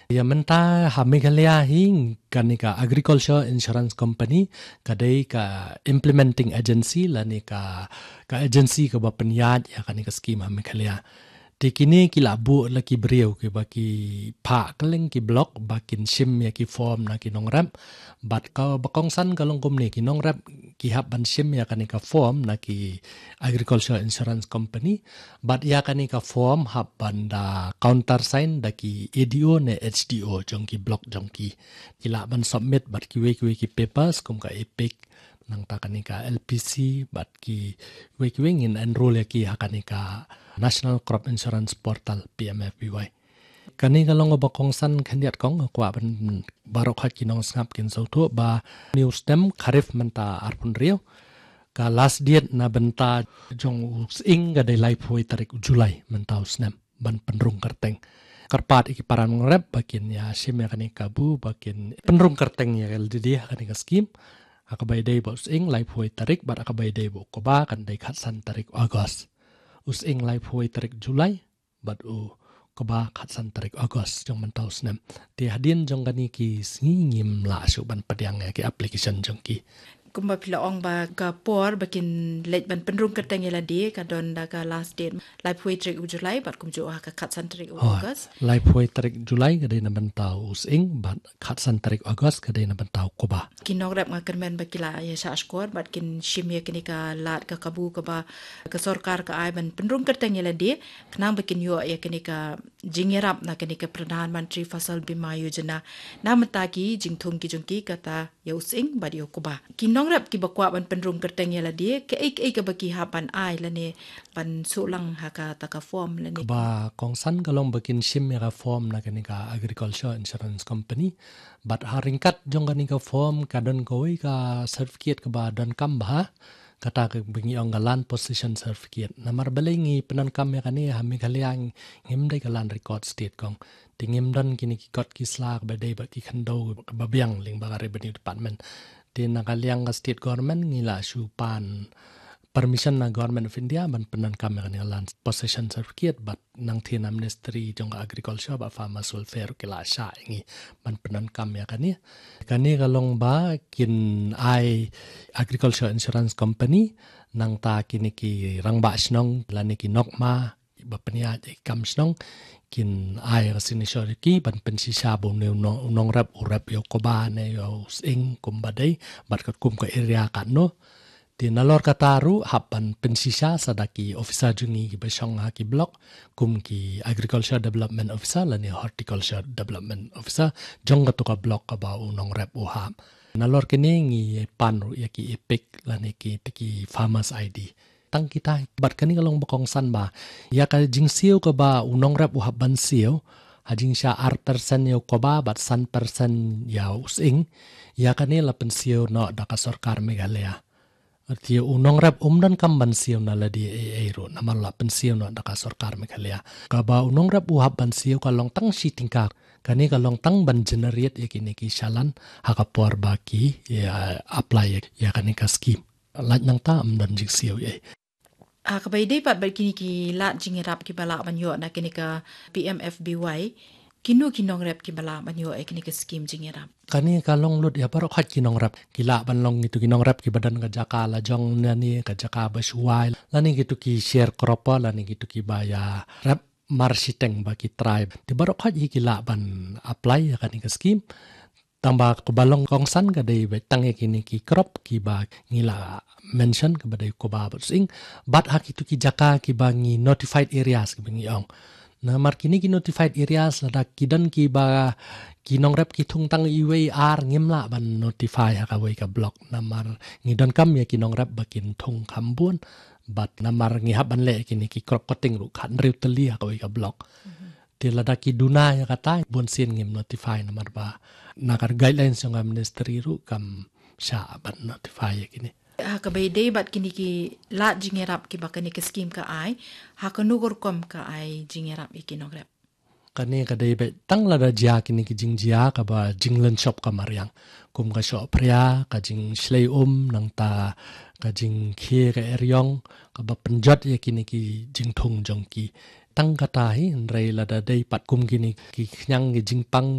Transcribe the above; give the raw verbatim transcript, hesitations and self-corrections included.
Ïa mynta ha Meghalaya hi kane ka Agriculture Insurance Company ka dei ka implementing agency lane ka, ka agency kaba pynïaid ïa kane ka scheme ha Meghalaya. Te kine ki la buh la ki briew kiba ki phah kylleng ki block ba kin shim ïa ki form na ki nongrep. Bad kaba kongsan ka long kumne, ki nongrep ki hap ban shim ïa kane ka form na ki Agriculture Insurance Company. Bad ïa kane ka form hap ban da countersign da ki A D O ne H D O jong ki block jong ki. Ki lah ban submit bad kiwei kiwei ki papers kum ka EPIC, nangta kane ka L P C, bad kiwei kiwei ngin enroll ïa ki ha kane ka National Crop Insurance Portal, P M F B Y. Kane ka long kaba kongsan khyndiat kong, kwah ban baroh khoit ki nongsngap kin sngewthuh ba une u snem kharif mynta arphew hynriew, ka last date na bynta jong u sying ka dei laiphew tarik u July mynta u snem ban pynrung kyrteng. Kyrpad ïa ki para nongrep ba kin ïa shim ïa kane ka kabu ba kin pynrung kyrteng ïa ka lade ha kane ka scheme. Ha kaba ïadei bad u sying laiphew tarik, bad ha kaba ïadei bad u kba kan dei khatsan tarik August. U sying laiphew tarik July, bad u kba khatsan tarik August jong mynta u snem. Te hadien jong kane ki sngi ngim lah shuh ban pdiang ïa ki application jong ki. Kumba phi la ong ba ka por ba kin leit ban pynrung kyrteng ïa lade ka don da ka last date laiphew tarik u July bad kumjuh ha ka khatsan tarik u August. Laiphew tarik July ka dei na bynta u sying bad khatsan tarik August ka dei na bynta u kba. Ki nongrep nga kyrmen ba ki la ïa shah shkor bad kin shim ïa kane ka lad ka kabu kaba ka sorkar ka ai ban pynrung kyrteng ïa lade khnang ba kin ïoh ïa kane ka jingïarap na kane ka Pradhan Mantri Fasal Bima Yojana. Na mynta ki jingthung ki jong ki kata ïa u sying bad ïa u kba. Ki nongrep kiba kwah ban pynrung kyrteng ïa lade, kaei kaei kaba ki hap ban ai lane ban shu lang ha kata ka form lane. Kaba kongsan ka long ba kin shim ïa ka form na kane ka Agriculture Insurance Company. Bad ha ryngkat jong kane ka form ka don kawei ka certificate kaba donkam bha. Kata kaba ngi ong ka Land Possession Certificate. Namar balei ngi pyndonkam ïa kane ha Meghalaya, ngim dei ka Land Record State kong. Te ngim don kine ki kot ki sla kaba dei bad ki khyndew kaba biang lyngba ka Revenue Department. Te na ka liang ka State Government ngi la shu pan permission na Government of India ban pyndonkam ïa kane ka Land Possession Certificate, bad nangta na Ministry jong ka Agriculture bad Farmers Welfare ki la shah ïa ngi ban pyndonkam ïa kane. Kane ka long ba kin ai Agriculture Insurance Company, nangta kine ki rangbah shnong lane ki nongma ba pynïaid ïa ki kam shnong, kin ai ka signature ïa ki ban pynshisha ba une u nong, u nongrep u rep ïa u kba ne ïa u sying kumba dei, bad katkum ka area katno. Te nalor kata ruh hap ban pynshisha sa da ki officer jong ngi kiba shong ha ki block, kum ki Agriculture Development Officer lane Horticulture Development Officer jong kato ka block kaba u nongrep u hap. Nalor kine ngi pan ruh ïa ki EPIC lane kita ki Farmers I D. Tang kita hi. Bad kane ka long ba kongsan ba ïa ka jingsiew kaba u nongrep u hap ban siew, ha jingshah ar percent ïa u kba bad san percent ïa u sying, ïa kane la pynsiew noh da ka sorkar Meghalaya. Te u nongrep um donkam ban siew na lade ei ei ruh, namar la pynsiew noh da ka sorkar Meghalaya. Kaba u nongrep u hap ban siew ka long tang shi tyngka. Kane ka long tang ban generate ïa kine ki challan ha ka por ba ki ïa apply ïa kane ka scheme. Lait nangta ym don jingsiew ei ei. Ha kaba ïadei pat bad kine ki lad jingïarap kiba lah ban ïoh na kine ka P M F B Y, kino ki nongrep kiba lah ban ïoh ïa kine ki scheme jingïarap? Kane ka long lut ïa baroh khoit ki nongrep. Ki lah ban long kito ki nongrep kiba don ka jaka la jong lane ka jaka ba shuwa, lane kito ki sharecropper lane kito kiba ïa rep marshiteng ba ki trai. Te baroh khoit hi ki lah ban apply ïa kane ka scheme. Tangba kaba long kongsan ka dei beit tang ïa kine ki crop kiba ngi la mention kaba dei kba bad sying. Bad ha kito ki jaka kiba ngi notified areas kiba ngi ong. Namar kine ki notified areas lada ki don kiba ki nongrep ki thung tang iwei ar ngim lah ban notify ha kawei ka block. Namar ngi donkam ïa ki nongrep ba kin thung kham bun. Bad namar ngi hap ban leh kine ki crop cutting ruh khathynriew tylli ha kawei ka block. Te lada ki duna ïa kata, bun sien ngim notify namar ba na ka guidelines jong ka ministry ruh kam shah ban notify ïa kine. Ha kaba ïadei bad kine ki lad jingïarap kiba kane ka scheme ka ai, ha kano ka rukom ka ai jingïarap ïa ki nongrep? Kane ka dei beit tang lada jia kine ki jingjia kaba jinglynshop ka mariang. Kum ka shoh phria, ka jingshlei um, nangta ka jingkhie ka eriong, kaba pynjot ïa kine ki jingthung jong ki. Tang kata hi, hynrei lada dei pat kum kine ki khñiang ki jingpang